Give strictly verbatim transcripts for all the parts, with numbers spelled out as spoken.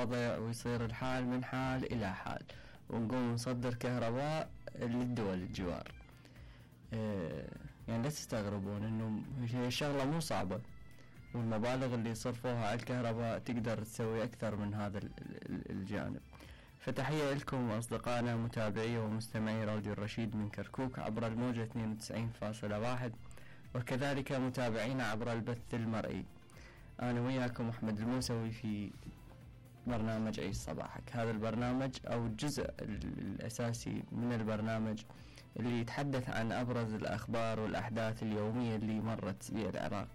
الوضع ويصير الحال من حال إلى حال، ونقوم نصدر كهرباء للدول الجوار. اه يعني لا تستغربون انه هي الشغلة مو صعبة، والمبالغ اللي صرفوها على الكهرباء تقدر تسوي اكثر من هذا الجانب. فتحية لكم أصدقائنا متابعي ومستمعي راديو الرشيد من كركوك عبر الموجة اثنين وتسعين فاصلة واحد، وكذلك متابعينا عبر البث المرئي. أنا وياكم أحمد الموسوي في برنامج عيش صباحك. هذا البرنامج أو الجزء الأساسي من البرنامج اللي يتحدث عن أبرز الأخبار والأحداث اليومية اللي مرت بها العراق.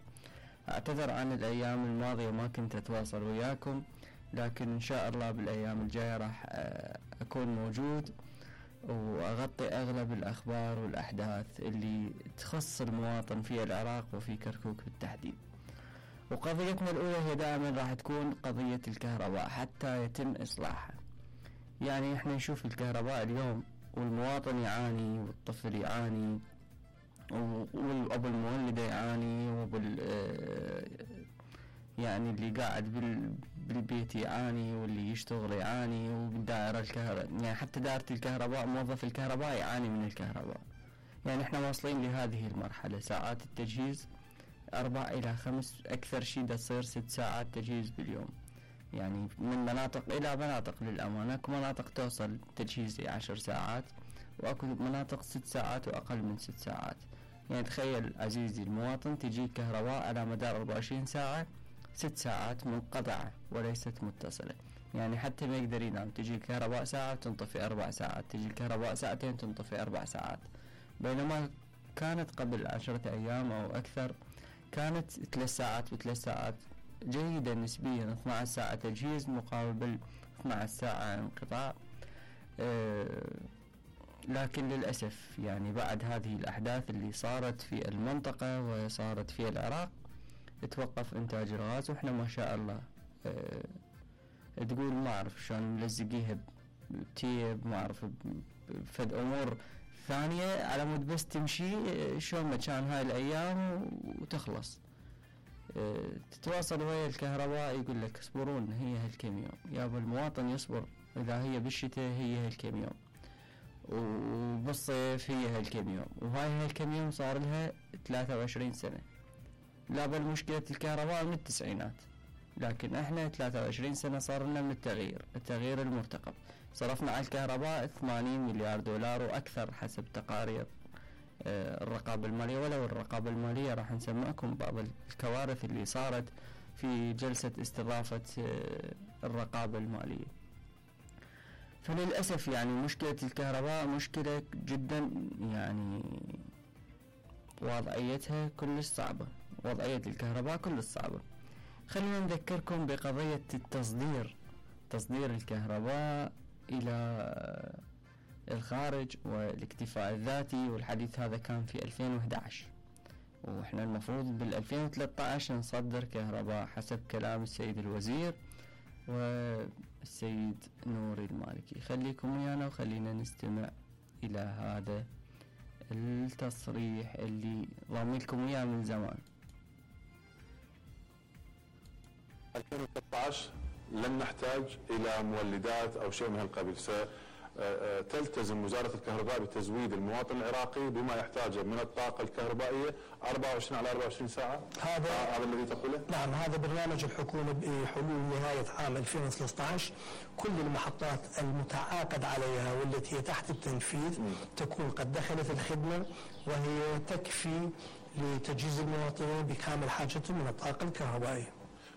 أعتذر عن الأيام الماضية ما كنت أتواصل وياكم، لكن إن شاء الله بالأيام الجاية راح أكون موجود وأغطي أغلب الأخبار والأحداث اللي تخص المواطن في العراق وفي كركوك بالتحديد. وقضيتنا الأولى هي دائما راح تكون قضية الكهرباء حتى يتم إصلاحها. يعني إحنا نشوف الكهرباء اليوم والمواطن يعاني والطفل يعاني والأب المولدة يعاني وبال يعني اللي قاعد بالبيت يعاني واللي يشتغل يعاني وبالدائرة الكهرباء، يعني حتى دائرة الكهرباء موظف الكهرباء يعاني من الكهرباء. يعني احنا واصلين لهذه المرحلة، ساعات التجهيز أربع إلى خمس، أكثر شيء دا تصير ست ساعات تجهيز باليوم. يعني من مناطق إلى مناطق للأمانة، اكو مناطق توصل تجهيز عشر ساعات وأكو مناطق ست ساعات وأقل من ست ساعات. يعني تخيل عزيزي المواطن تجي كهرباء على مدار أربعة وعشرين ساعة، ست ساعات منقطعة وليست متصلة. يعني حتى ما يقدر ينام، تجي الكهرباء ساعة تنطفي أربع ساعات، تجي الكهرباء ساعتين تنطفي أربع ساعات. بينما كانت قبل عشرة أيام أو أكثر كانت ثلاث ساعات وثلاث ساعات جيدة نسبيا، اثنتا عشرة ساعة تجهيز مقابل اثنتا عشرة ساعة انقطاع. أه لكن للأسف يعني بعد هذه الأحداث اللي صارت في المنطقة وصارت في العراق توقف إنتاج الغاز، وإحنا ما شاء الله أه تقول ما أعرف شلون ملزقيها بتيب، ما أعرف بفد أمور ثانية على مود بس تمشي شلون ما كان هاي الأيام وتخلص. أه تتواصل ويا الكهرباء يقول لك اصبرون هي هالكم يوم، يابا المواطن يصبر، إذا هي بالشتاء هي هالكم يوم وبالصيف هي هالكم يوم، وهاي هالكم يوم صار لها ثلاثة وعشرين سنة. لا بل مشكلة الكهرباء من التسعينات، لكن احنا ثلاثة وعشرين سنة صار لنا من التغيير التغيير المرتقب. صرفنا على الكهرباء ثمانين مليار دولار وأكثر حسب تقارير اه الرقابة المالية. ولو الرقابة المالية راح نسمعكم بعض الكوارث اللي صارت في جلسة استضافة اه الرقابة المالية. فللأسف يعني مشكلة الكهرباء مشكلة جدا، يعني وضعيتها كلش صعبة، وضعية الكهرباء كلش صعبة. خلينا نذكركم بقضية التصدير تصدير الكهرباء إلى الخارج والاكتفاء الذاتي، والحديث هذا كان في ألفين وإحدى عشر، وإحنا المفروض بال2013 نصدر كهرباء حسب كلام السيد الوزير والسيد نوري المالكي. خليكم ويانا وخلينا نستمع إلى هذا التصريح اللي ضامنكم إياه من زمان. ألفين وثلاثة عشر لن نحتاج إلى مولدات أو شيء من هالقبيل، ستلتزم وزارة الكهرباء بتزويد المواطن العراقي بما يحتاجه من الطاقة الكهربائية أربعة وعشرين على أربعة وعشرين ساعة. هذا هذا الذي تقوله؟ نعم، هذا برنامج الحكومة بحلول نهاية عام ألفين وثلاثة عشر. كل المحطات المتعاقد عليها والتي هي تحت التنفيذ م. تكون قد دخلت الخدمة، وهي تكفي لتجهيز المواطنين بكامل حاجتهم من الطاقة الكهربائية.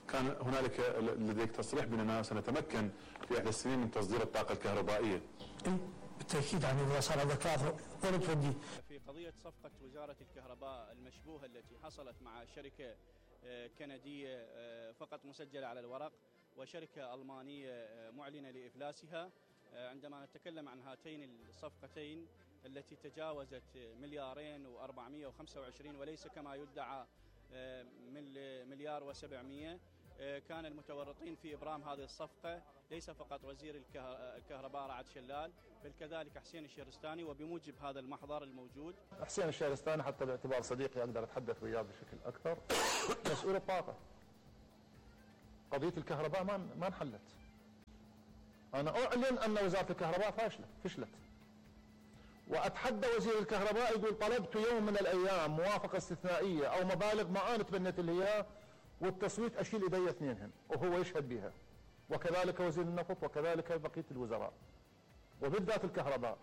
كان هنالك لديك تصريح بأننا سنتمكن في إحدى السنين من تصدير الطاقة الكهربائية. إيه بالتأكيد، يعني إذا صار هذا ثلاثة وين تودي؟ في قضية صفقة وزارة الكهرباء المشبوهة التي حصلت مع شركة كندية فقط مسجلة على الورق وشركة ألمانية معلنة لإفلاسها، عندما نتكلم عن هاتين الصفقتين التي تجاوزت مليارين وأربعمائة وخمسة وعشرين وليس كما يدعى من مليار وسبعمائة، كان المتورطين في إبرام هذه الصفقة ليس فقط وزير الكهرباء رعد شلال، بل كذلك حسين الشهرستاني. وبموجب هذا المحضر الموجود، حسين الشهرستاني حتى باعتبار صديقي أقدر أتحدث وياه بشكل أكثر، مسؤول الطاقة. قضية الكهرباء ما ما انحلت، أنا أعلن أن وزارة الكهرباء فاشلة فشلت، وأتحدى وزير الكهرباء يقول طلبت يوم من الأيام موافقة استثنائية أو مبالغ ما أنا تبنيت اللي هي والتصويت أشيل إيدي اثنينهن وهو يشهد بها، وكذلك وزير النفط وكذلك بقية الوزراء، وبالذات الكهرباء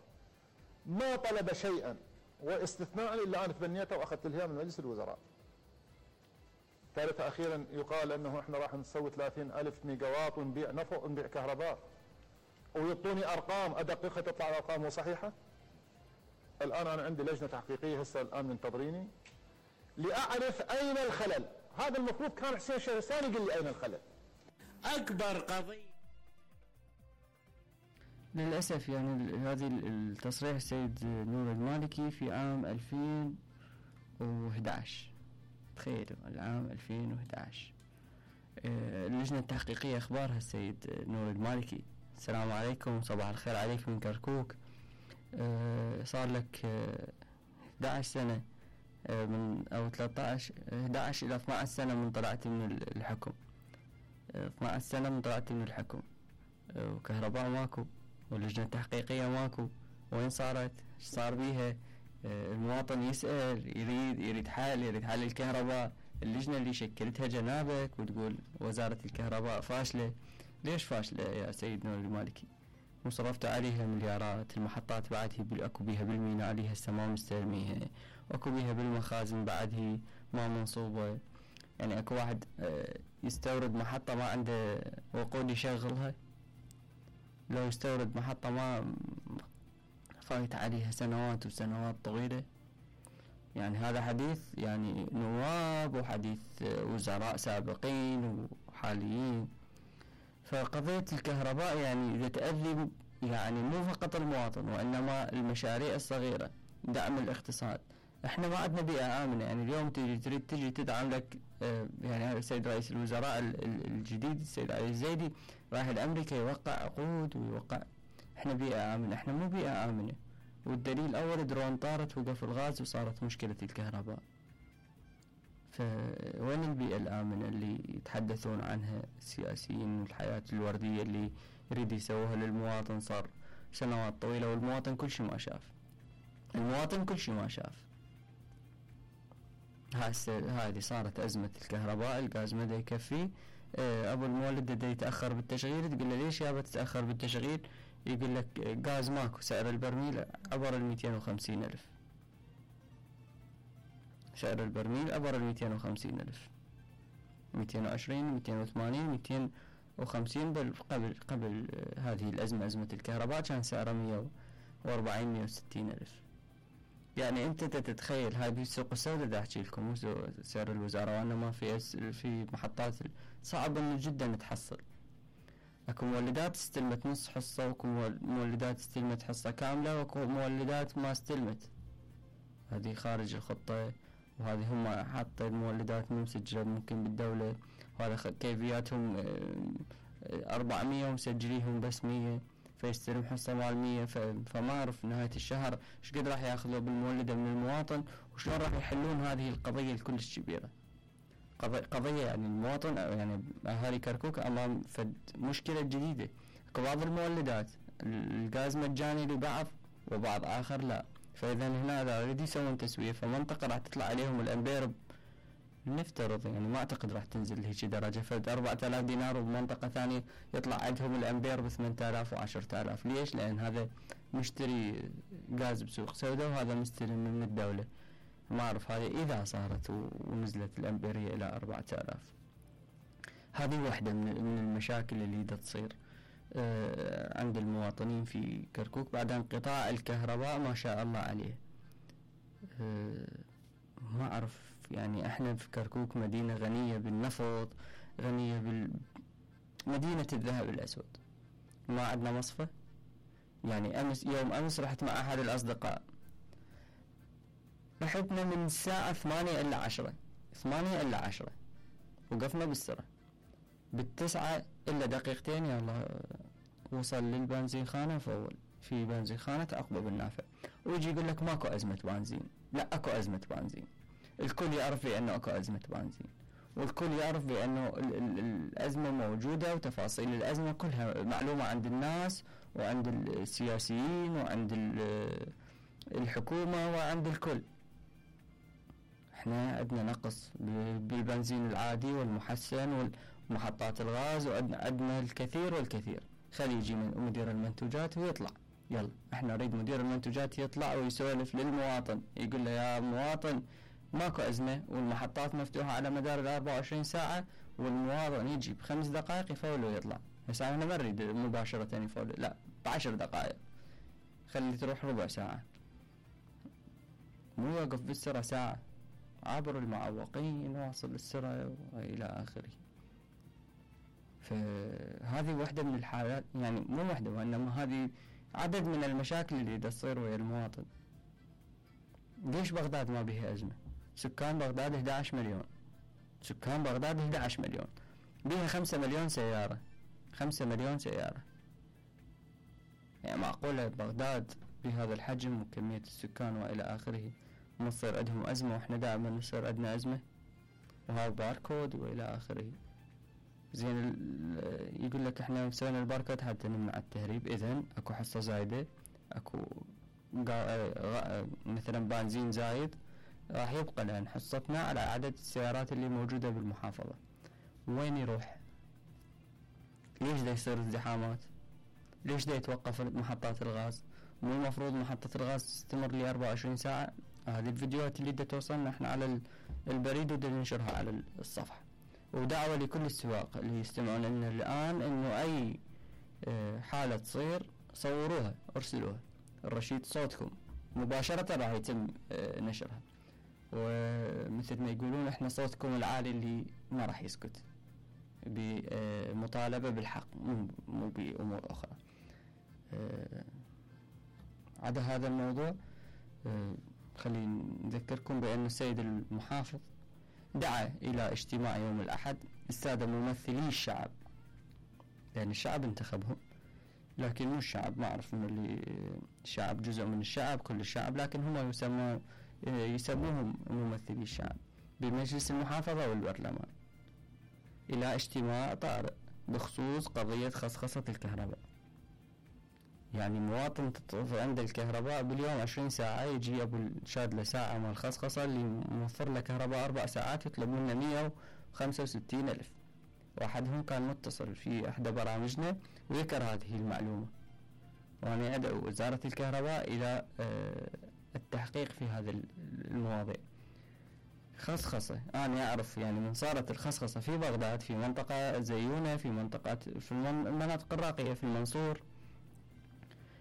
ما طلب شيئا واستثناء إلا أنا تبنيته وأخذت الهيئة من مجلس الوزراء. ثالثا أخيرا يقال أنه إحنا راح نسوي ثلاثين ألف ميجاوات ونبيع نفط ونبيع كهرباء، ويعطوني أرقام أدققها تطلع الأرقام مو صحيحة. الآن أنا عندي لجنة تحقيقية هسه الآن منتظريني لأعرف أين الخلل. هذا المفروض كان حسين شهرستان يقول لي أين الخلل. أكبر قضية للأسف يعني هذه التصريح السيد نور المالكي في عام ألفين وإحدى عشر، تخيلوا العام ألفين وإحدى عشر. اللجنة التحقيقية أخبارها السيد نور المالكي: السلام عليكم، صباح الخير عليكم من كركوك. صار لك إحدى عشر سنة من أو ثلاثة عشر إحدى عشر إلى اثنتي عشرة سنة من طلعت من الحكم، اثنتي عشرة سنة من طلعت من الحكم، وكهرباء ماكو، واللجنة التحقيقية ماكو. وين صارت؟ ايش صار بيها؟ المواطن يسأل، يريد يريد حل، يريد حل الكهرباء. اللجنة اللي شكلتها جنابك وتقول وزارة الكهرباء فاشلة. ليش فاشلة يا سيد نور المالكي؟ وصرفتوا عليها مليارات، المحطات بعد هي اكو بيها بالميناء اللي هسه ما مستلميها، واكو بيها بالمخازن بعد هي ما منصوبة. يعني اكو واحد يستورد محطة ما عنده وقود يشغلها، لو يستورد محطة ما فايت عليها سنوات وسنوات طويلة. يعني هذا حديث يعني نواب وحديث وزراء سابقين وحاليين. فقضية الكهرباء يعني إذا تأذي يعني مو فقط المواطن وإنما المشاريع الصغيرة، دعم الاقتصاد. احنا ما عندنا بيئة آمنة. يعني اليوم تجي تريد تجي تدعم لك اه يعني هذا السيد رئيس الوزراء الجديد السيد علي الزيدي رايح لأمريكا يوقع عقود ويوقع. احنا بيئة آمنة؟ احنا مو بيئة آمنة. والدليل أول درون طارت وقف الغاز وصارت مشكلة الكهرباء. فوين البيئة الآمنة اللي يتحدثون عنها السياسيين والحياة الوردية اللي يريد يسووها للمواطن؟ صار سنوات طويلة والمواطن كل شيء ما شاف. المواطن كل شيء ما شاف. هذه صارت أزمة الكهرباء، الغاز ما دا يكفي. أبو المولد دا يتأخر بالتشغيل، تقول له ليش يابا تتأخر بالتشغيل؟ يقول لك غاز ماكو، سعر البرميل عبر المئتين وخمسين ألف. سعر البرميل عبر المئتين وخمسين ألف، مئتين وعشرين، مئتين وثمانين، مئتين وخمسين. بل قبل قبل هذه الأزمة، أزمة الكهرباء، كان سعره مئة وأربعين مئة وستين ألف. يعني أنت تتخيل هاي بالسوق السوداء دا أحكي لكم، مو سعر الوزارة، وأنا ما في في محطات صعب إنه جدا تحصل. اكو مولدات استلمت نص حصة، واكو مولدات استلمت حصة كاملة، واكو مولدات ما استلمت. هذه خارج الخطة، وهذه هم حاطة المولدات مو مسجلة ممكن بالدولة، وهذا كيفياتهم أربعمية ومسجليهم بس مية، فيستلم حصة مال مية. فما أعرف نهاية الشهر ايش قد راح ياخذوا بالمولدة من المواطن، وشلون راح يحلون هذه القضية الكلش كبيرة. قضية يعني المواطن يعني أهالي كركوك أمام فد مشكلة جديدة. بعض المولدات الغاز مجاني لبعض وبعض آخر لا. فإذا هنا إذا يريد يسوون تسوية فمنطقة راح تطلع عليهم الأمبير نفترض، يعني ما أعتقد راح تنزل لهيك درجة، فد أربعة آلاف دينار، وبمنطقة ثانية يطلع عندهم الأمبير بثمانية آلاف وعشرة آلاف. ليش؟ لأن هذا مشتري غاز بسوق سوداء وهذا مشتري من الدولة. ما أعرف هذه إذا صارت ونزلت الأمبيرية إلى أربعة آلاف. هذه واحدة من المشاكل اللي دا تصير عند المواطنين في كركوك بعد انقطاع الكهرباء ما شاء الله عليه. ما أعرف يعني احنا في كركوك مدينة غنية بالنفط، غنية بال مدينة الذهب الأسود. ما عندنا مصفى. يعني أمس يوم أمس رحت مع أحد الأصدقاء، رحتنا من الساعة ثمانية إلى عشرة، ثمانية إلى عشرة، وقفنا بالسرة. بالتسعة إلا دقيقتين يا الله وصل للبنزين خانة فول في بنزين خانة عقبة بالنافع، ويجي يقول لك ماكو أزمة بنزين. لا، أكو أزمة بنزين، الكل يعرف لي أنه أكو أزمة بنزين. والكل يعرف بأنه ال ال الأزمة موجودة وتفاصيل الأزمة كلها معلومة عند الناس وعند السياسيين وعند الحكومة وعند الكل. احنا عندنا نقص بالبنزين العادي والمحسن ومحطات الغاز، وعندنا الكثير والكثير. خلي يجي من مدير المنتوجات ويطلع، يلا احنا نريد مدير المنتوجات يطلع ويسولف للمواطن، يقول له يا مواطن ماكو أزمة والمحطات مفتوحة على مدار الأربعة وعشرين ساعة، والمواطن يجي بخمس دقائق يفول ويطلع. بس احنا ما نريد مباشرة يفول، لا بعشر دقائق، خلي تروح ربع ساعة، مو يوقف بالسرعة ساعة، عبر المعوقين واصل السرعة وإلى آخره. فهذه واحدة من الحالات، يعني مو واحدة وإنما هذه عدد من المشاكل اللي تصير ويا المواطن. ليش بغداد ما بيها أزمة؟ سكان بغداد إحدى عشر مليون، سكان بغداد إحدى عشر مليون، بيها خمسة مليون سيارة، خمسة مليون سيارة. يعني معقولة بغداد بهذا الحجم وكمية السكان وإلى آخره ما تصير عندهم أزمة وإحنا دائما نصير عندنا أزمة؟ وهذا باركود وإلى آخره. زين يقول لك إحنا سوينا الباركود حتى نمنع التهريب، إذن أكو حصة زايدة، أكو مثلا بنزين زايد، راح يبقى لأن حصتنا على عدد السيارات اللي موجودة بالمحافظة. وين يروح؟ ليش دا يصير ازدحامات؟ ليش دا يتوقف محطات الغاز؟ مو المفروض محطة الغاز تستمر لي أربعة وعشرين ساعة؟ هذه الفيديوهات اللي دا توصلنا احنا على البريد ودا ننشرها على الصفحة. ودعوة لكل السواق اللي يستمعون لنا الآن انه اي حالة تصير صوروها ارسلوها، الرشيد صوتكم مباشرة راح يتم نشرها، ومثل ما يقولون احنا صوتكم العالي اللي ما راح يسكت، بمطالبة بالحق مو بأمور أخرى. عدا هذا الموضوع خلينا نذكركم بأن السيد المحافظ دعا إلى اجتماع يوم الأحد السادة ممثلي الشعب، لأن الشعب انتخبهم، لكن مو الشعب، ما أعرف من اللي الشعب جزء من الشعب كل الشعب، لكن هم يسمون يسموهم ممثلي الشعب بمجلس المحافظة والبرلمان، إلى اجتماع طارئ بخصوص قضية خصخصة الكهرباء. يعني مواطن تطفي عند الكهرباء باليوم عشرين ساعة، يجي أبو الشاد له ساعة مال خصخصة اللي موفر له كهرباء أربع ساعات يطلب منه مية وخمسة وستين ألف. واحدهم كان متصل في إحدى برامجنا وذكر هذه المعلومة، وأنا أدعو وزارة الكهرباء إلى التحقيق في هذه المواضيع. خصخصة أنا أعرف يعني من صارت الخصخصة في بغداد، في منطقة زيونة، في منطقة في المناطق الراقية، في المنصور،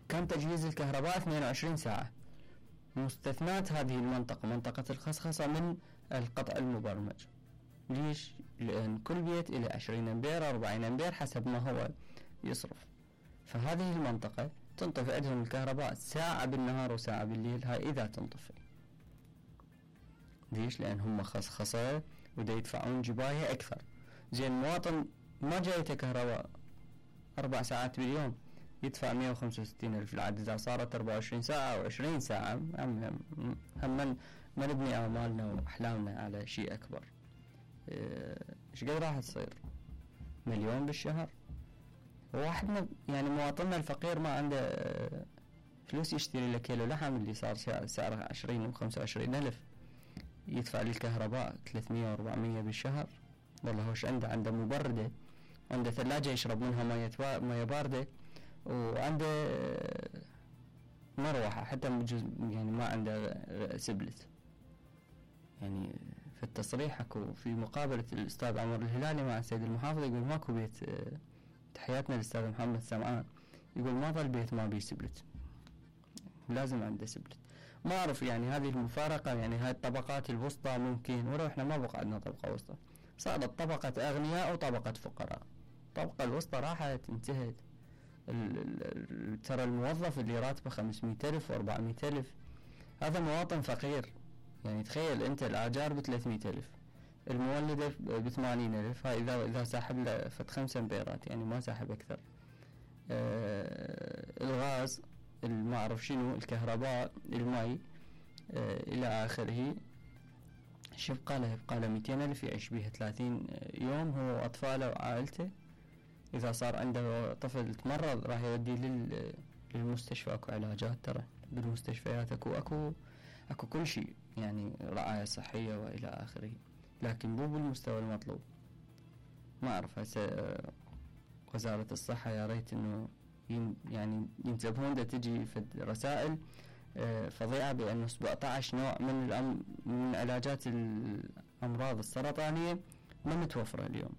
كان تجهيز الكهرباء اثنين وعشرين ساعة. مستثنات هذه المنطقة منطقة الخصخصة من القطع المبرمج. ليش؟ لأن كل بيت إلى عشرين أمبير أربعين أمبير حسب ما هو يصرف، فهذه المنطقة تنطفئ عندهم الكهرباء ساعة بالنهار وساعة بالليل، هاي إذا تنطفئ. ليش؟ لأن هم خصخصة ودا يدفعون جباية أكثر. زين مواطن ما جايته كهرباء أربع ساعات باليوم يدفع مية وخمسة وستين ألف العدد، إذا صارت أربعة وعشرين ساعة أو عشرين ساعة هم هم ما نبني آمالنا وأحلامنا على شيء أكبر. إيش قد راح تصير؟ مليون بالشهر. واحد يعني مواطننا الفقير ما عنده فلوس يشتري له كيلو لحم اللي صار سعره عشرين وخمسة وعشرين ألف، يدفع للكهرباء ثلاثمية وأربعمية بالشهر. والله وش عنده؟ عنده مبردة، عنده ثلاجة يشرب منها مية مية باردة، وعنده مروحة حتى يعني ما عنده سبلت. يعني في التصريح اكو في مقابلة الأستاذ عمر الهلالي مع السيد المحافظ يقول ماكو بيت، تحياتنا للأستاذ محمد سمعان، يقول ما ظل بيت ما بيه سبلت، لازم عنده سبلت. ما أعرف يعني هذه المفارقة، يعني هاي الطبقات الوسطى ممكن، ولو إحنا ما بقى عندنا طبقة وسطى، صارت طبقة أغنياء وطبقة فقراء. الطبقة الوسطى راحت انتهت. ترى الموظف اللي راتبه خمسمية ألف وأربعمية ألف هذا مواطن فقير. يعني تخيل أنت الآجار بثلاثمية ألف، المولدة بثمانين ألف، هاي إذا إذا ساحب له فت خمسة امبيرات، يعني ما ساحب أكثر. آه الغاز، ما أعرف شنو، الكهرباء، الماء، آه إلى آخره. شو يبقى له؟ يبقى له مئتين ألف يعيش بيها ثلاثين يوم هو وأطفاله وعائلته. إذا صار عنده طفل تمرض راح يوديه لل للمستشفى. أكو علاجات ترى بالمستشفيات، أكو أكو أكو كل شيء يعني رعاية صحية وإلى آخره، لكن مو بالمستوى المطلوب. ما أعرف هسه وزارة الصحة يا ريت إنه يعني ينتبهون دا تجي في رسائل فظيعة بأنه سبعة عشر نوع من الأم من علاجات الأمراض السرطانية ما متوفرة اليوم،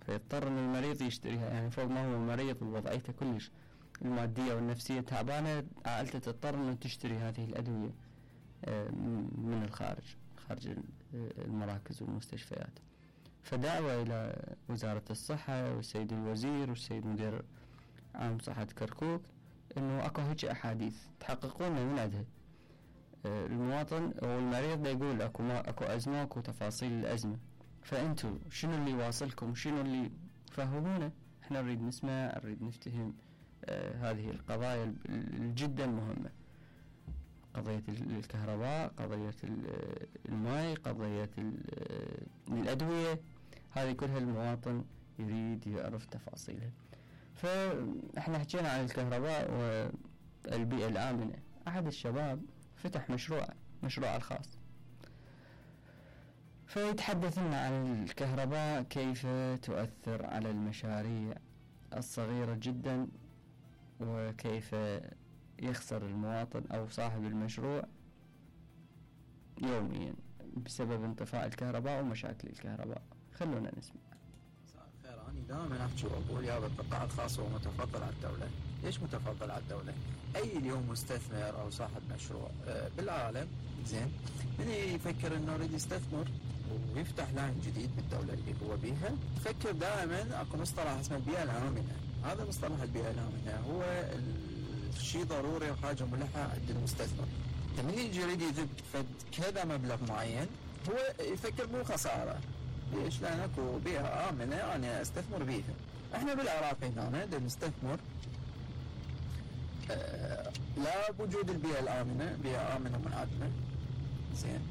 فيضطر إن المريض يشتريها. يعني فوق ما هو المريض ووضعيته كلش المادية والنفسية تعبانة، عائلته تضطر إنه تشتري هذه الأدوية من الخارج، خارج المراكز والمستشفيات. فدعوة إلى وزارة الصحة والسيد الوزير والسيد مدير عام صحة كركوك إنه أكو هيك أحاديث تحققون من عندها. المواطن أو المريض يقول أكو ما أكو أزمة، أكو تفاصيل الأزمة، فأنتوا شنو اللي واصلكم، شنو اللي فهمونا. إحنا نريد نسمع، نريد نفتهم آه هذه القضايا الجدا مهمة، قضية الكهرباء، قضية الماء، قضية الأدوية، هذه كلها المواطن يريد يعرف تفاصيلها. فإحنا حكينا عن الكهرباء والبيئة الآمنة. أحد الشباب فتح مشروع مشروع الخاص، فيتحدث لنا عن الكهرباء كيف تؤثر على المشاريع الصغيرة جدا، وكيف يخسر المواطن أو صاحب المشروع يوميا بسبب انطفاء الكهرباء ومشاكل الكهرباء. خلونا نسمع. خير، أنا دائما أحكي وأقول يا القطاع الخاص هو متفضل على الدولة. ليش متفضل على الدولة؟ أي اليوم مستثمر أو صاحب مشروع بالعالم زين من يفكر إنه يريد يستثمر ويفتح لاين جديد بالدولة اللي هو بيها، يفكر دائما أكو مصطلح اسمه البيئة الآمنة. هذا مصطلح البيئة الآمنة هو شيء ضروري وحاجة ملحة عند المستثمر. لما يجي يريد يجيب كذا مبلغ معين هو يفكر مو خسارة. ليش؟ لأن أكو بيئة آمنة أنا أستثمر بيها. إحنا بالعراق هنا دا نستثمر آه لا بوجود البيئة الآمنة، بيئة آمنة ومنعدمة زين،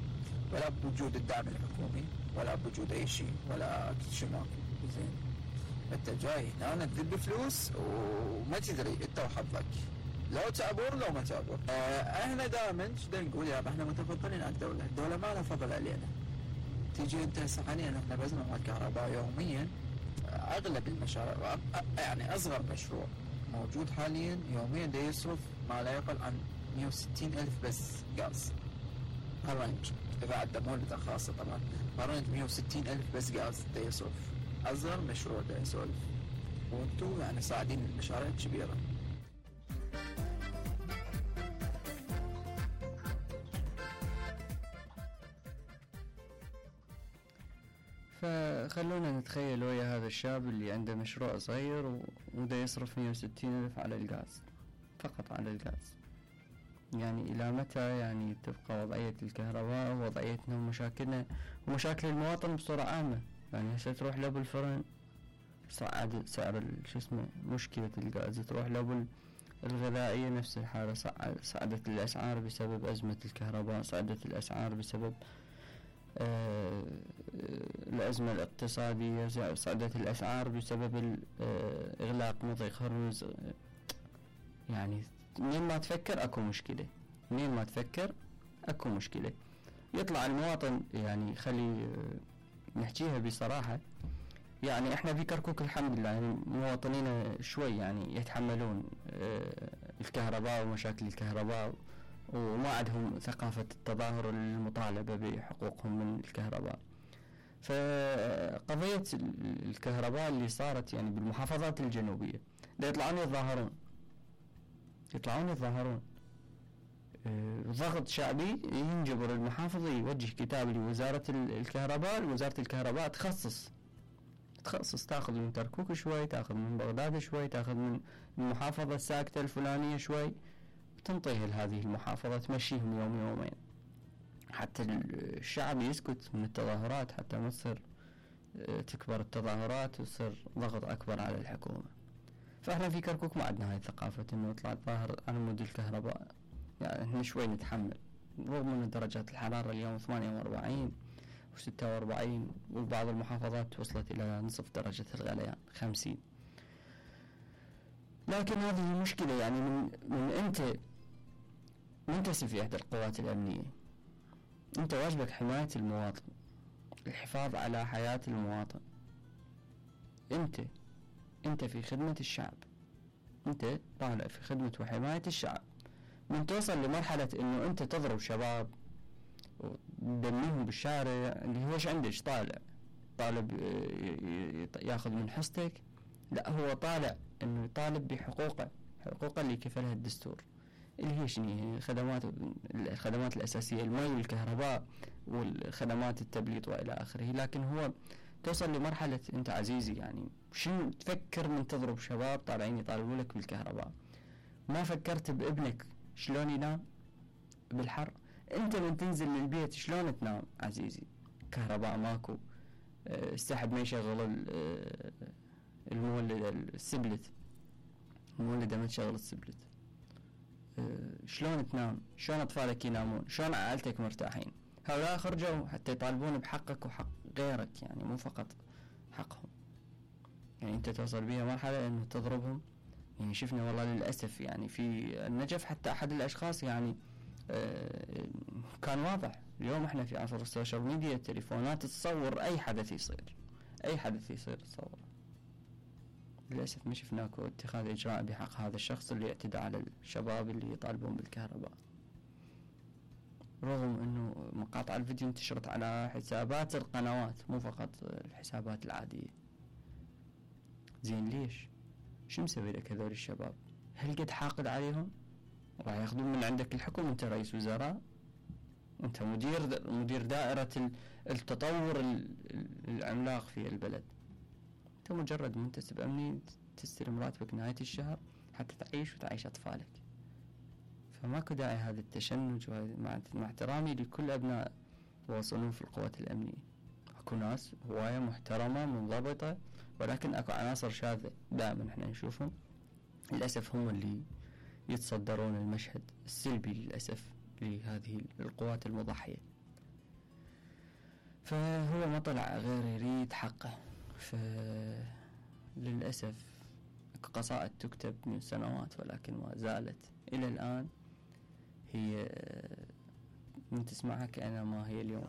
ولا بوجود الدعم الحكومي، ولا بوجود أي شيء، ولا كل شيء ماكو زين. أنت جاي هنا تذب فلوس وما تدري أنت وحظك، لو تعبور لو ما تعبور. آه احنا دائما شو نقول يا احنا متفضلين على الدوله، الدوله ما لها فضل علينا. تيجي انت هسه حاليا احنا بزنة مع الكهرباء يوميا، اغلب المشاريع يعني اصغر مشروع موجود حاليا يوميا دا يصرف ما لا يقل عن مئة وستين ألف بس غاز. هالرينج اذا عندنا مولد خاصه طبعا، هالرينج مئة وستين ألف بس غاز دا يصرف، اصغر مشروع دا يسولف، وانتم يعني صاعدين المشاريع الكبيره. فخلونا نتخيل ويا هذا الشاب اللي عنده مشروع صغير وده يصرف مئة وستين ألف على الغاز، فقط على الغاز. يعني إلى متى يعني تبقى وضعية الكهرباء ووضعيتنا ومشاكلنا ومشاكل المواطن بصورة عامة؟ يعني هسه تروح له بالفرن صعد سعر شو اسمه مشكلة الغاز، تروح له بالغذائية نفس الحالة، صعدت الأسعار بسبب أزمة الكهرباء، صعدت الأسعار بسبب آه الأزمة الاقتصادية، صعدت الأسعار بسبب إغلاق مضيق هرمز. يعني منين ما تفكر أكو مشكلة، منين ما تفكر أكو مشكلة. يطلع المواطن يعني خلي نحكيها بصراحة، يعني إحنا في كركوك الحمد لله يعني مواطنين شوي يعني يتحملون آه الكهرباء ومشاكل الكهرباء، وما عندهم ثقافة التظاهر المطالبة بحقوقهم من الكهرباء. فقضية الكهرباء اللي صارت يعني بالمحافظات الجنوبية دا يطلعون يتظاهرون يطلعون يتظاهرون أه ضغط شعبي ينجبر المحافظ يوجه كتاب لوزارة الكهرباء، وزارة الكهرباء تخصص تخصص تاخذ من كركوك شوي، تاخذ من بغداد شوي، تاخذ من المحافظة الساكتة الفلانية شوي، تنطيه لهذه المحافظة تمشيهم يوم يومين حتى الشعب يسكت من التظاهرات، حتى ما تصير تكبر التظاهرات ويصير ضغط أكبر على الحكومة. فإحنا في كركوك ما عندنا هاي الثقافة إنه يطلع الظاهر على مود الكهرباء، يعني إحنا شوي نتحمل رغم من درجات الحرارة اليوم ثمانية وأربعين وستة وأربعين، وبعض المحافظات وصلت إلى نصف درجة الغليان خمسين. لكن هذه المشكلة يعني من من أنت منتسب في إحدى القوات الأمنية، أنت واجبك حماية المواطن، الحفاظ على حياة المواطن. أنت أنت في خدمة الشعب، أنت طالع في خدمة وحماية الشعب. من توصل لمرحلة إنه أنت تضرب شباب وتدميهم بالشارع، اللي هو إيش عندك؟ طالع طالب ياخذ من حصتك؟ لا، هو طالع إنه يطالب بحقوقه، حقوقه اللي كفلها الدستور، اللي هي شنو؟ الخدمات الخدمات الأساسية، المي والكهرباء والخدمات التبليط وإلى آخره. لكن هو توصل لمرحلة أنت عزيزي يعني شنو تفكر من تضرب شباب طالعين يطالبوا لك بالكهرباء؟ ما فكرت بابنك شلون ينام بالحر؟ أنت من تنزل للبيت شلون تنام عزيزي؟ كهرباء ماكو، السحب ما يشغل المولد السبلت، المولدة ما تشغل السبلت، شلون تنام؟ شلون أطفالك ينامون؟ شلون عائلتك مرتاحين؟ هؤلاء خرجوا حتى يطالبون بحقك وحق غيرك، يعني مو فقط حقهم. يعني أنت توصل بيها مرحلة إنه تضربهم. يعني شفنا والله للأسف يعني في النجف حتى أحد الأشخاص يعني آه كان واضح. اليوم احنا في عصر السوشيال ميديا، التليفونات تصور أي حدث يصير، أي حدث يصير تصور. للأسف ما شفناكو اتخاذ إجراء بحق هذا الشخص اللي اعتدى على الشباب اللي يطالبون بالكهرباء، رغم انه مقاطع الفيديو انتشرت على حسابات القنوات مو فقط الحسابات العادية. زين ليش؟ شو مسوي لك هذول الشباب؟ هل قد حاقد عليهم؟ راح ياخذون من عندك الحكم؟ انت رئيس وزراء، انت مدير مدير دائرة التطور العملاق في البلد، انت مجرد منتسب امني تستلم راتبك نهاية الشهر حتى تعيش وتعيش اطفالك. فماكو داعي هذا التشنج، مع احترامي لكل أبناء وصنوف القوات الأمنية. أكو ناس هواية محترمة منضبطة، ولكن أكو عناصر شاذة دائما احنا نشوفهم للأسف هم اللي يتصدرون المشهد السلبي للأسف لهذه القوات المضحية. فهو ما طلع غير يريد حقه. فللأسف أكو قصائد تكتب من سنوات ولكن ما زالت إلى الآن هي من تسمعها كأنها ما هي اليوم.